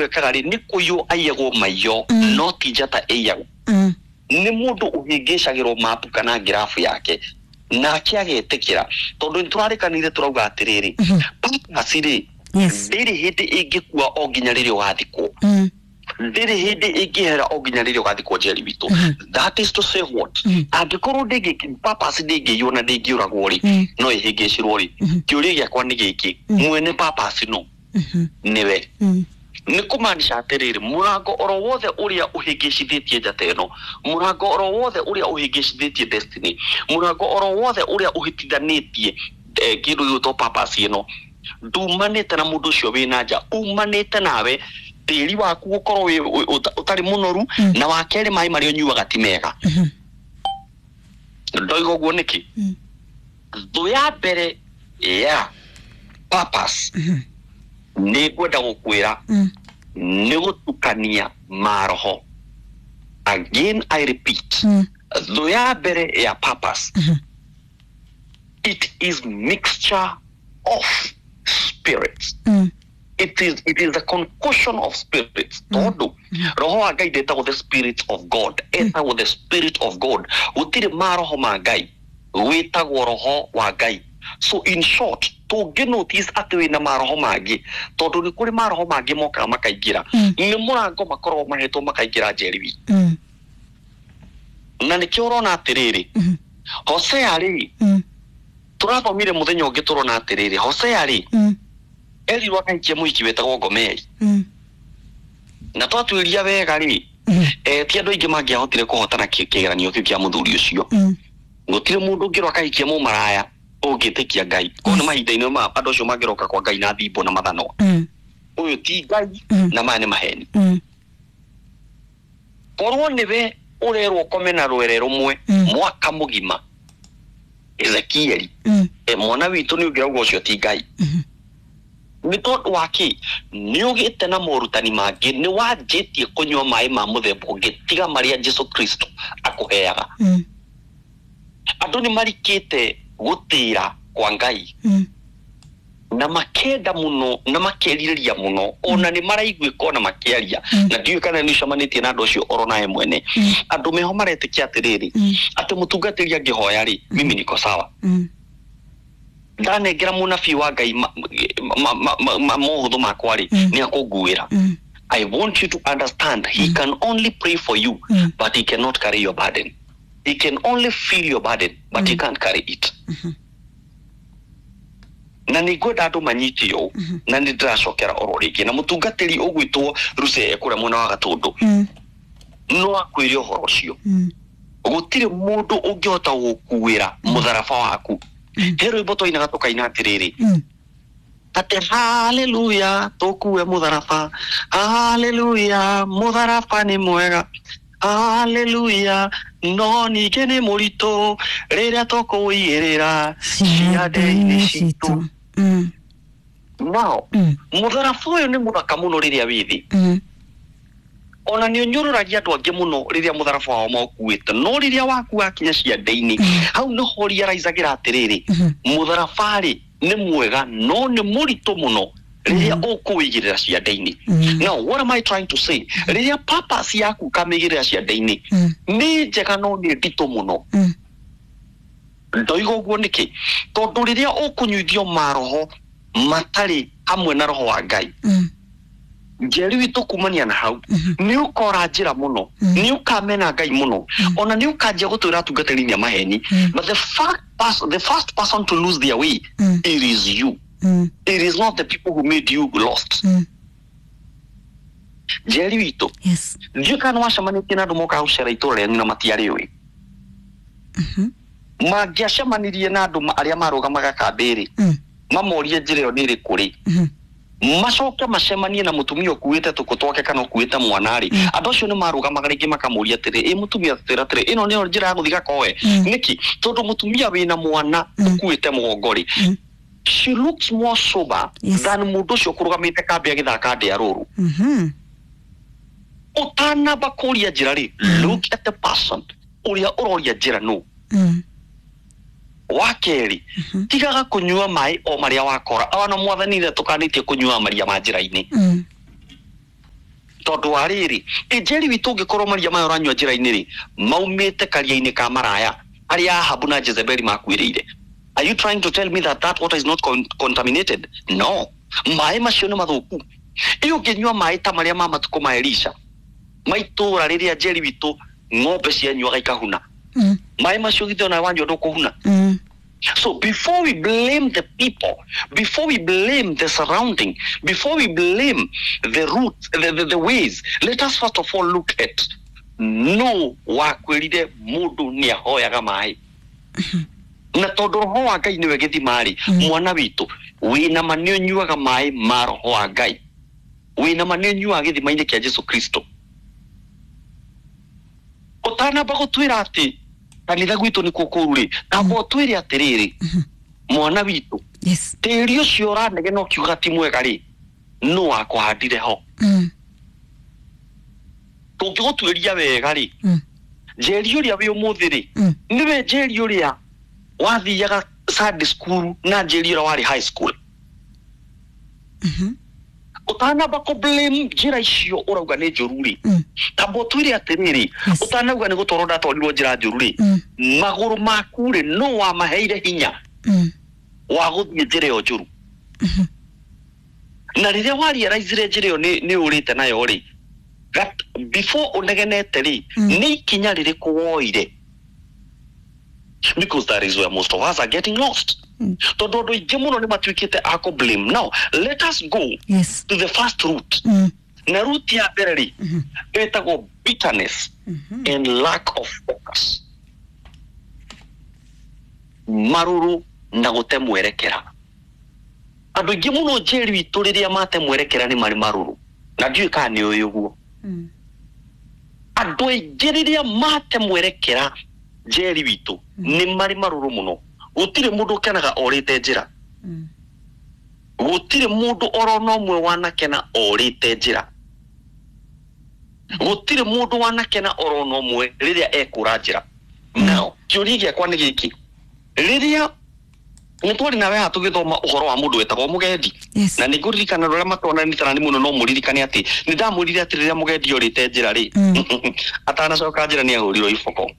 Mũndũ ekaga rĩ, nĩ kũiywo aiyagwo maiyo, no ti njata ĩiyagwo. Nĩ mũndũ ũhĩngĩcagĩrwo mapu kana ngirabu yake nake agetĩkĩra, tondũ nĩ tũrarĩkanire tũrauga atĩrĩrĩ, purpose rĩ, ndĩrĩ hĩndĩ ĩngĩkua o nginya rĩrĩa ũgathikwo. Ndĩrĩ hĩndĩ ĩngĩhera o nginya rĩrĩa ũgathikwo, Njeri witũ. That is to say what? Angĩkorwo ndĩngĩ, purpose ndĩngĩiywo na ndĩngĩũragwo rĩ, no ĩhĩngĩcirwo rĩ, kĩũria gĩakwa nĩ gĩkĩ: mwene purpose no nĩwe. Nĩ kũmaanisha atĩrĩrĩ, mũrango oro wothe ũrĩa ũhĩngĩcithĩtie njata ĩno, mũrango oro wothe ũrĩa ũhĩngĩcithĩtie destiny, mũrango oro wothe ũrĩa ũhĩtithanĩtie kĩndũ gĩgwĩtwo purpose ĩno, ndumanĩte na mũndũ ũcio wĩna nja, umanĩte nawe, tĩri waku gũkorwo wĩ ũtarĩ mũnoru, na wa kerĩ, maĩ marĩa ũnyuaga ti mega. Ndoiga ũguo nĩkĩ? Thũ ya mbere ya purpose, nĩ ngwenda gũkwĩra, nĩ gũtukania maroho. Again I repeat, thũ ya mbere ya purpose, it is mixture of spirits. It is a concussion of spirits, tondũ roho wa Ngai ndetagwo the spirit of God, etagwo the Spirit of God. Gũtirĩ maroho ma Ngai, wĩtagwo roho wa Ngai. So in short, tũngĩ notice atĩ wĩna maroho mangĩ, tondũ nĩ kũrĩ maroho mangĩ mokaga makaingĩra, nĩ mũrango makoragwo mahetwo makaingĩra, Njeri witũ. Na nĩkĩo ũrona atĩrĩrĩ, Hosea rĩ, tũrathomire mũthenya ũngĩ, tũrona atĩrĩrĩ, Hosea rĩ, erirwo akaikie mũhiki wetagwo Gomeri. Na twatuĩria wega rĩ, ti andũ aingĩ mangĩahotire kũhotana kĩgeranio kĩu kĩa mũthuri ũcio. Gũtirĩ mũndũ ũngĩrwo akahikia mũmaraya ũngĩtĩkia Ngai ko nĩ mahinda-inĩ ma andũ acio mangĩroka kwa Ngai na thimbo na mathanwa. Ũyũ ti Ngai, na maya nĩ maheni. Korwo nĩwe ũrerwo kome na rwere rũmwe mwaka mũgima, Ezekieli, mwana witũ, nĩ ũngĩrauga ũcio ti Ngai. Nĩ tondũ wa kĩ? Nĩ ũgĩte na morutani mangĩ, nĩ wanjĩtie kũnyua maĩ ma mũthemba ũngĩ tiga marĩa Jesu Kristo akũheaga. Andũ nĩ marikĩte gũtĩra kwa Ngai na makenda mũno na makerirĩria mũno, ona nĩ maraiguĩka ona makĩaria. Na ndiũĩ kana nĩ ũcemanĩtie na andũ acio oro nawe mwene. Andũ meho maretĩkia atĩrĩrĩ, atĩ mũtungatĩri angĩhoya rĩ, mimi niko sawa. Ndanengera mũnabii wa Ngai mohũthũ makwa rĩ, nĩ akũnguĩra. I want you to understand, he can only pray for you, but he cannot carry your burden. He can only feel your burden, but he can't carry it. Na nĩ ngwenda andũ manyite ũũ, na nĩ ndĩracokera oro rĩngĩ, na mũtungatĩri ũgwĩtwo Ruse kũrĩa mwena wa Gatũndũ no akwĩre ũhoro ũcio. Gũtirĩ mũndũ ũngĩhota gũkuĩra mũtharaba waku. He rwĩmbo twainaga tũkaina atĩrĩrĩ, atĩ haleluya, tũkue mũtharaba, haleluya, mũtharaba nĩ mwega, haleluya, no ningĩ nĩ mũritũ rĩrĩa tũkũigĩrĩra ciande-inĩ citũ. Nao mũtharaba ũyũ nĩ mũthaka mũno rĩrĩa wĩ thĩ, ona nĩ ũnyũrũragia andũ angĩ mũno rĩrĩa mũtharaba wao maũkuĩte, no rĩrĩa waku wakinya ciande-inĩ, hau nĩho realize-agĩra atĩrĩrĩ, mũtharaba rĩ, nĩ mwega no nĩ mũritũ mũno rĩrĩa ũkũwĩigĩrĩra ciande-inĩ. Now what am I trying to say? Rĩrĩa purpose yaku ũkamĩigĩrĩra ciande-inĩ, nĩ njega no nĩ nditũ mũno. Ndoiga ũguo nĩkĩ? Tondũ rĩrĩa ũkũnyuithio maroho matarĩ hamwe na roho wa Ngai, Njeri witũ, kumania na hau nĩ ũkora njĩra mũno, nĩ ũkamena Ngai mũno, ona nĩ ũkanjia gũtwĩra atungatĩri nĩ a maheni. But the first person to lose their way, it is you. It is not the people who made you lost, Njeri witũ. Ndiũĩ kana nĩ wacemanĩtie na andũ mokaga gũcera itũra rĩanyu na matiarĩũĩ. Mangĩacemanirie na andũ arĩa marũgamaga kambĩ-rĩ, mamorie njĩra ĩyo nĩ ĩrĩkũ rĩ, macoke macemanie na mũtumia ũkuĩte tũkũ twake kana ũkuĩte mwana rĩ, andũ acio nĩ marũgamaga rĩngĩ makamũria atĩrĩ, ĩ mũtumia, twĩra atĩrĩ, ĩno nĩyo njĩra ya gũthiĩ Gakoe nĩkĩ? Tondũ mũtumia wĩna mwana ũkuĩte mũgongo rĩ, she looks more sober than mũndũ ũcio ũkũrũgamĩte kambĩ agĩthaka ndĩa rũrũ. Ũtanamba kũria njĩra rĩ, look at the person ũrĩa ũroria njĩra nũ. Wa kerĩ, tigaga kũnyua maĩ o marĩa wakora. Ona Mwathani nĩ tũkanĩtie kũnyua maria ma njĩra-inĩ. Tondũ wa rĩrĩ, Njeri witũ, ũngĩkorwo maria maya ũranyua njĩra-inĩ rĩ, maumĩte karia-inĩ ka maraya arĩa Ahabu na Jezebeli makuĩrĩire, are you trying to tell me that that water is not contaminated? No, maĩ macio nĩ mathũku. Ĩ ũngĩnyua maĩ ta marĩa ma matukũ ma Elisha, ma itũũra rĩrĩa, Njeri witũ, ng'ombe cianyuaga ikahuna, maĩ macio githĩ ona wanyua ndũkũhuna? So before we blame the people, before we blame the surrounding, before we blame the routes, the ways, let us first of all look at no wakwĩrire mũndũ nĩ ahoyaga maĩ, na tondũ roho wa Ngai nĩwe gĩthima rĩ, mwana witũ, wĩna ma nĩ ũnyuaga maĩ ma roho wa Ngai? Wĩna ma nĩ ũnyuaga gĩthima-inĩ kĩa Jesu Kristo? Ũtanamba gũtwĩra atĩ kanitha gwitũ nĩkuo kũru rĩ, tamba ũtwĩre atĩrĩrĩ, mwana witũ, tĩri ũcio ũranegena ũkiuga ti mwega rĩ, nũ wakũhandire ho? Tũngĩgũtuĩria wega rĩ, Njeri ũrĩa wĩ ũmũthĩ rĩ, nĩwe Njeri ũrĩa wathiaga Sunday school na Njeri ũrĩa warĩ high school? Ũtanamba kũ blame njĩra icio ũrauga nĩ njũru rĩ, tamba ũtwĩre atĩrĩrĩ, ũtanauga nĩ gũtwarwo ndatwarirwo njĩra njũru rĩ, magũrũ maku rĩ, nũ wamaheire hinya wa gũthiĩ njĩra ĩyo njũru? Na rĩrĩa warealizire njĩra ĩyo nĩ ũrĩte nayo rĩ, before ũnegenete rĩ, nĩ ikinya rĩrĩkũ woire? Because that is where most of us are getting lost, tondũ andũ aingĩ mũno nĩ matuĩkĩte a kũ blame. Now let us go to the first root. Na root ya mbere rĩ, ĩtagwo bitterness and lack of focus, marũrũ na gũte mwerekera. Andũ aingĩ mũno, Njeri witũ, rĩrĩa mate mwerekera nĩ marĩ marũrũ, na ndiũĩ kana nĩ ũĩ ũguo. Andũ aingĩ rĩrĩa mate mwerekera, Njeri witũ, nĩ marĩ marũrũ mũno. Gũtirĩ mũndũ ũkenaga orĩte njĩra. Gũtirĩ mũndũ orona ũmwe wanakena orĩte njĩra. Gũtirĩ mũndũ wanakena orona ũmwe rĩrĩa ekũra njĩra. Now kĩũria gĩakwa nĩ gĩkĩ: rĩrĩa nĩ twarĩ nawe haha tũgĩthoma ũhoro wa mũndũ wetagwo mũgendi, na nĩ ngũririkana andũ arĩa matwananĩte mũno, no mũririkane atĩ nĩ ndamwĩrire atĩ rĩrĩa mũgendi orĩte njĩra rĩ, atanacoka njĩra nĩ ahũrirwo iboko.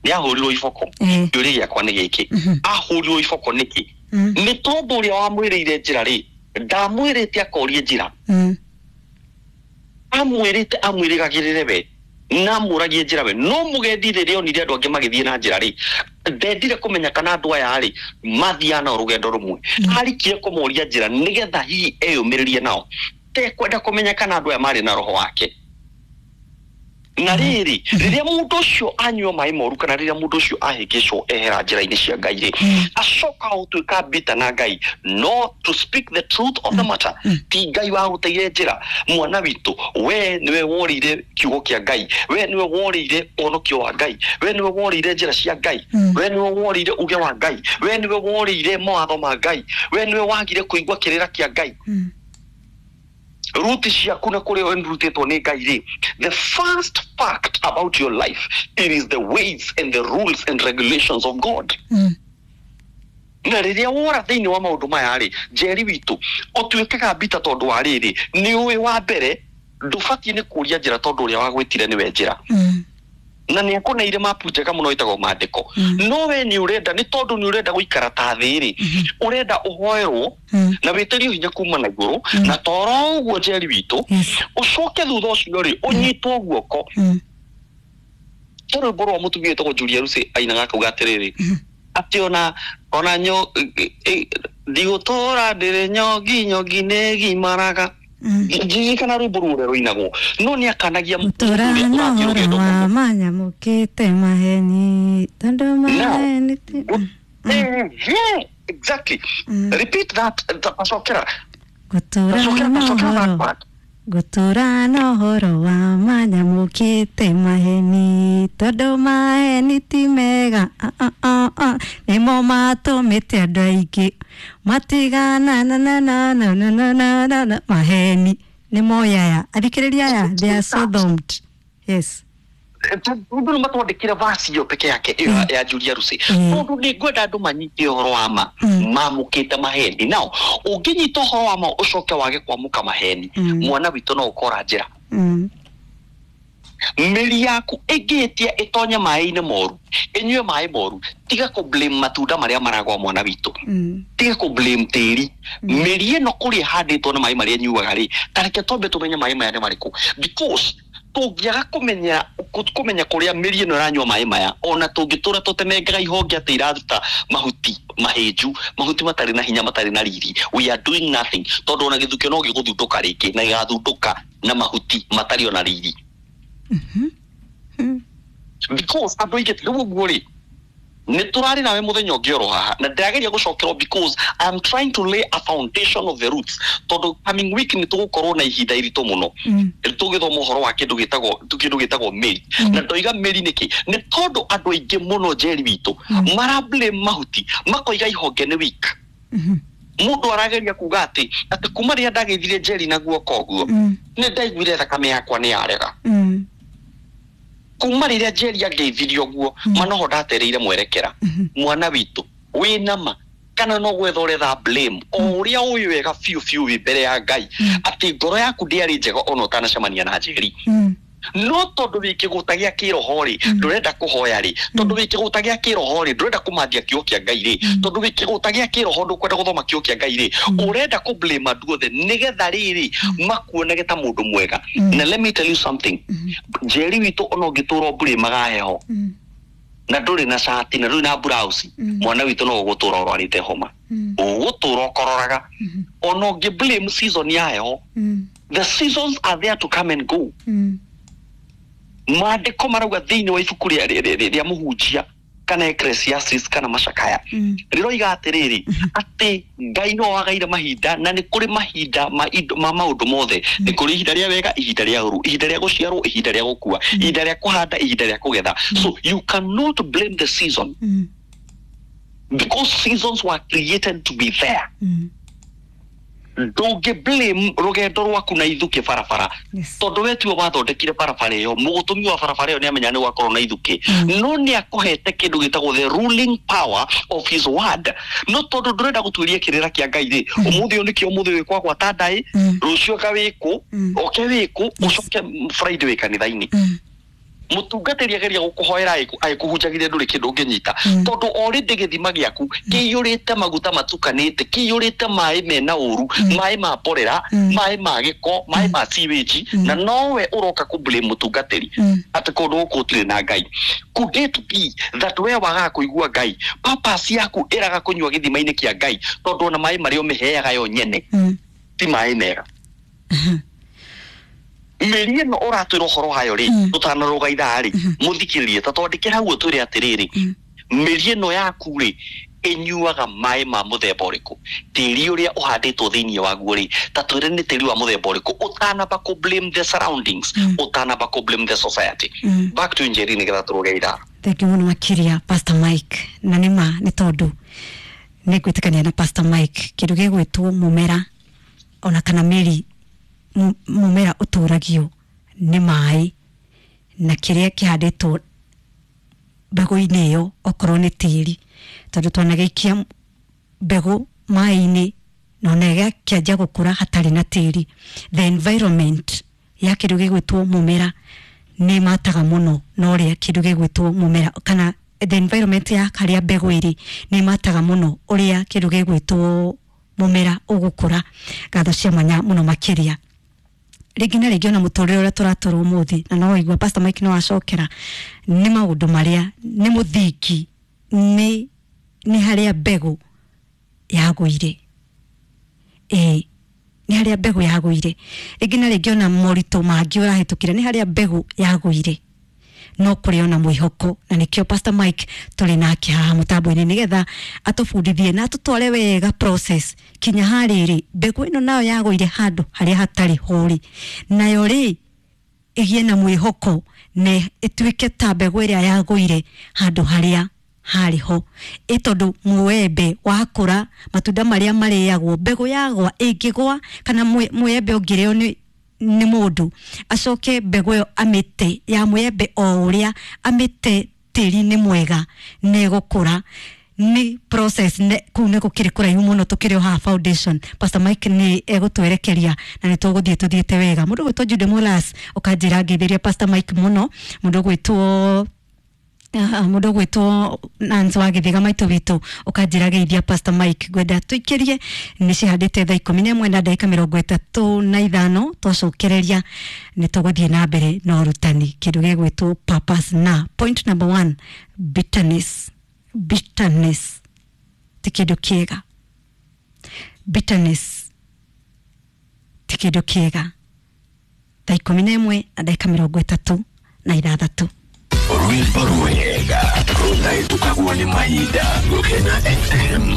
Nĩ ahũrirwo iboko. Kĩũria gĩakwa nĩ gĩkĩ: ahũrirwo iboko nĩkĩ? Nĩ tondũ ũrĩa wamwĩrĩire njĩra rĩ, ndamwĩrĩte akorie njĩra. Amwĩrĩte amwĩrĩgagĩrĩre we na amũragie njĩra we. No mũgendi rĩrĩa onire andũ angĩ magĩthiĩ na njĩra rĩ, ndendire kũmenya kana andũ aya rĩ mathiaga nao rũgendo rũmwe. Arikire kũmoria njĩra nĩgetha hihi eyũmĩrĩrie nao, tekwenda kũmenya kana andũ aya marĩ na roho wake. Na rĩrĩ, rĩrĩa mũndũ ũcio anyua maĩ moru, kana rĩrĩa mũndũ ũcio ahĩngĩcwo ehera njĩra-inĩ cia Ngai rĩ, acoka gũtuĩka bitter na Ngai. No to speak the truth of the matter, ti Ngai wagũteire njĩra, mwana witũ. We nĩwe worĩire kiugo kĩa Ngai, we nĩwe worĩire ũhonokio wa Ngai, we nĩwe worĩire njĩra cia Ngai, we nĩwe worĩire uge wa Ngai, we nĩwe worĩire mawatho ma Ngai, we nĩwe wagire kũigua kĩrĩra kĩa Ngai. Ruti ciaku na kũrĩa ũrutĩtwo nĩ Ngai rĩ, the first fact about your life, it is the ways and the rules and regulations of God. Na rĩrĩa wora thĩinĩ wa maũndũ maya rĩ, Njeri witũ, ũtuĩkaga bitter, tondũ wa rĩrĩ, nĩ ũĩ wa mbere ndũbatiĩ nĩ kũria njĩra, tondũ ũrĩa wagwĩtire nĩwe njĩra, na nĩ akũneire mapu njega mũno ĩtagwo maandĩko. No we nĩ ũrenda, nĩ tondũ nĩ ũrenda gũikara ta thĩ rĩ, ũrenda ũhoerwo na wĩtĩrio hinya kuma na igũrũ, na toro ũguo, Njeri witũ, ũcoke thutha ũcio rĩ, ũnyitwo guoko. He rwĩmbo rwa mũtumia wĩtagwo Julia Lucy ainaga akauga atĩrĩrĩ, atĩ ona nyo ndigũtũra ndĩrĩ nyongi, nyongi nĩ gimaraga. Ndirikana rwĩmbo rũrĩa rũinagwo, no nĩ akanagia mũndũ Tũra ũrĩa na ũrathiĩ ũhoro rũgendo wa mũno. manyamũkĩte maheni tondũ maheni Yeah, exactly. Repeat that. Tacokera. Gũtũra Tacokera, na tacokera that ũhoro part. Gũtũra na ũhoro wa manyamũkĩte maheni tondũ maheni ti mega. Ah, ah, ah, ah. Nĩmo matũmĩte andũ aingĩ matigana na na na na na na na na na maheni nĩmo yaya athikĩrĩria aya, they are so domed, yes. Tondũ nĩ matwandĩkire verse ĩyo peke yake ĩyo ya Julia Rusi, tondũ nĩ ngwenda andũ manyite ũhoro wa ma mamũkĩte maheni. Now ũngĩnyita ũhoro wa ma ũcoke wage kwamũka maheni, mwana witũ no ũkora njĩra. Mĩri yaku ĩngĩhĩtia ĩtonye maĩ-inĩ moru, ĩnyue maĩ moru, tiga kũ blame matunda marĩa maragwa, mwana witũ. Tiga kũ blame tĩri. Mĩri ĩno kũrĩa ĩhandĩtwo na maĩ marĩa ĩnyuaga rĩ, ta reke twambe tũmenye maĩ maya nĩ marĩkũ, because tũngĩaga kũmenya kũmenya kũrĩa mĩri ĩno ĩranyua maĩ maya, ona tũngĩtũra tũtemengaga ihonge atĩ iraruta mahuti mahĩnju, mahuti matarĩ na hinya, matarĩ na riri, we are doing nothing, tondũ ona gĩthukio no gĩgũthundũka rĩngĩ na gĩgathundũka na mahuti matarĩ ona riri, because andũ aingĩ rĩu ũguo rĩ nĩ tũrarĩ nawe mũthenya ũngĩ oro haha, na ndĩrageria gũcokerwo because I am trying to lay a foundation of the roots, tondũ coming week nĩ tũgũkorwo na ihinda iritũ mũno tũgĩthoma ũhoro wa kĩndũ gĩtagwo mĩri. Na ndoiga mĩri nĩkĩ? Nĩ tondũ andũ aingĩ mũno, Njeri witũ, mara blame mahuti, makoiga ihonge nĩ weak. Mũndũ arageria kuga atĩ kuma rĩrĩa ndageithire Njeri na guoko ũguo, nĩ ndaiguire thakame yakwa nĩ yarega. Kuma rĩrĩa Njeri angeithirie ũguo, manoho ndatereire mwerekera. Mwana witũ, wĩna ma kana no gwetha ũretha blame o ũrĩa ũĩ wega biũ biũ wĩ mbere ya Ngai atĩ ngoro yaku ndĩarĩ njega ona ũtanacemania na Njeri, no tondũ wĩ kĩgũta gĩa kĩroho rĩ, ndũrenda kũhoya rĩ, tondũ wĩ kĩgũta gĩa kĩroho rĩ, ndũrenda kũmandia kiugo kĩa Ngai rĩ, tondũ wĩ kĩgũta gĩa kĩroho ndũkwenda gũthoma kiugo kĩa Ngai rĩ, ũrenda kũ blame andũ othe nĩgetha rĩrĩ makuonage ta mũndũ mwega. Na let me tell you something, Njeri witũ, ona ũngĩtũra ũmburĩmaga heho na ndũrĩ na cati na ndũrĩ na blouse, mwana witũ, no ũgũtũra ũrwarĩte homa, ũgũtũra ũkororaga ona ũngĩ blame season ya heho. The seasons are there to come and go. Maandĩko marauga thĩinĩ wa ibuku rĩa Mũhunjia kana Ecclesiastes kana Macakaya, rĩroiga atĩrĩrĩ, atĩ Ngai no wagaire mahinda, na nĩ kũrĩ mahinda ma indo, ma maũndũ mothe. Nĩ kũrĩ ihinda rĩa wega, ihinda rĩa ũru, ihinda rĩa gũciarwo, ihinda rĩa gũkua, ihinda rĩa kũhanda, ihinda rĩa kũgetha. So you cannot blame the season, because seasons were created to be there. Ndũngĩ blame rũgendo rwaku na ithukĩ barabara, tondũ we tiwe wathondekire barabara ĩyo. Mũgũtũmi wa barabara ĩyo nĩ amenya nĩ gwakorwo na ithukĩ, no nĩ akũhete kĩndũ gĩtagwo the ruling power of his word. No tondũ ndũrenda gũtuĩria kĩrĩra kĩa Ngai rĩ, ũmũthĩ ũyũ nĩkĩo ũmũthĩ wĩ kwagwata ndaĩ, rũciũ anga wĩkũ, oke wĩkũ, ũcoke Friday wĩ kanitha-inĩ. Mũtungatĩri ageria gũkũhoera agĩkũhunjagĩria, ndũrĩ kĩndũ ũngĩnyita, tondũ already gĩthima gĩaku kĩiyũrĩte maguta matukanĩte, kĩiyũrĩte maĩ mena ũru, maĩ ma mborera, maĩ ma gĩko, maĩ ma sewage, na nowe ũroka kũ blame mũtungatĩri atĩ kũndũ gũkũ gũtirĩ na Ngai. Could it be that we wagaga kũigua Ngai, purpose yaku ĩraga kũnyua gĩthima-inĩ kĩa Ngai, tondũ ona maĩ marĩa ũmĩheaga yo nyene ti maĩ mega? Mĩri ĩno ũratwĩra ũhoro wayo rĩ, tũtanarũga ithaa rĩ, mũthikĩrĩrie, ta twandĩkĩre hau ũtwĩre atĩrĩrĩ, mĩri ĩno yaku rĩ, ĩnyuaga maĩ ma mũthemba ũrĩkũ? Tĩri ũrĩa ũhandĩtwo thĩinĩ waguo rĩ, ta twĩre nĩ tĩri wa mũthemba ũrĩkũ, ũtanamba kũ blame the surroundings, ũtanamba kũ blame the society. Back to Njeri nĩgetha tũrũge ithaa. Thank you mũno makĩria, Pastor Mike. Na nĩ ma, nĩ tondũ nĩ ngwĩtĩkania na Pastor Mike, kĩndũ gĩgwĩtwo mũmera ona kana mĩri, mũmera ũtũragio nĩ maĩ na kĩrĩa kĩhandĩtwo mbegũ-inĩ ĩyo, okorwo nĩ tĩri, tondũ twanagĩikia mbegũ maĩ-inĩ na ona ĩgakĩanjia gũkũra hatarĩ na tĩri. The environment ya kĩndũ gĩgwĩtwo mũmera nĩ mataga mũno na ũrĩa kĩndũ gĩgwĩtwo mũmera, kana the environment ya harĩa mbegũ ĩrĩ nĩ mataga mũno ũrĩa kĩndũ gĩgwĩtwo mũmera ũgũkũra. Ngatho cia mwanya mũno makĩria. Rĩngĩ na rĩngĩ ona mũtũrĩre ũrĩa tũratũra ũmũthĩ, na no waigua Pastor Mike no acokera, nĩ maũndũ marĩa nĩ mũthingi, nĩ harĩa mbegũ yagũire. Ĩĩ, nĩ harĩa mbegũ yagũire. Rĩngĩ na rĩngĩ ona moritũ mangĩ ũrahĩtũkĩra, nĩ harĩa mbegũ yagũire, no kũrĩ ona mwĩhoko, na nĩkĩo Pastor Mike tũrĩ nake haha mũtambo-inĩ nĩgetha atũbundithie na atũtware wega process kinya harĩrĩ mbegũ ĩno nayo yagũire handũ harĩa hatarĩ hũrĩ, nayo rĩ ĩgĩe na mwĩhoko na ĩtuĩke ta mbegũ ĩrĩa yagũire handũ harĩa harĩ ho. Ĩ tondũ mũembe wakũra, matunda marĩa marĩagwo, mbegũ yagwa ĩngĩgwa kana mwĩembe ũngĩrĩo nĩ nĩ mũndũ acoke mbegũ ĩyo amĩte ya mwembe o ũrĩa amĩte tĩri-inĩ mwega nĩ ĩgũkũra. Nĩ process ne, kũu nĩ gũkĩrĩ kũraihu mũno tũkĩrĩ o haha foundation. Pastor Mike nĩ egũtwerekeria na nĩ tũgũthiĩ tũthiĩte wega. Mũndũ gwĩtwo Jude Molas ũkanjĩra ngeithĩria Pastor Mike mũno. Mũndũ gwĩtwo mũndũ gwĩtwo Nancy wa Gĩthĩga maitũ witũ ũkanjĩra geithia Pastor Mike. Ngwenda tũikĩrie nĩ cihandĩte thaa 11 na ndagĩka 35. Twacokereria nĩ tũgũthiĩ na mbere na ũrutani kĩndũ gĩgwĩtwo purpose, na point number 1, bitterness. Bitterness ti kĩndũ kĩega. Bitterness ti kĩndũ kĩega. Thaa 11 na ndagĩka 36. Rwĩmbo rwega rũtahĩtũkagwo nĩ mahinda. Gũkena FM.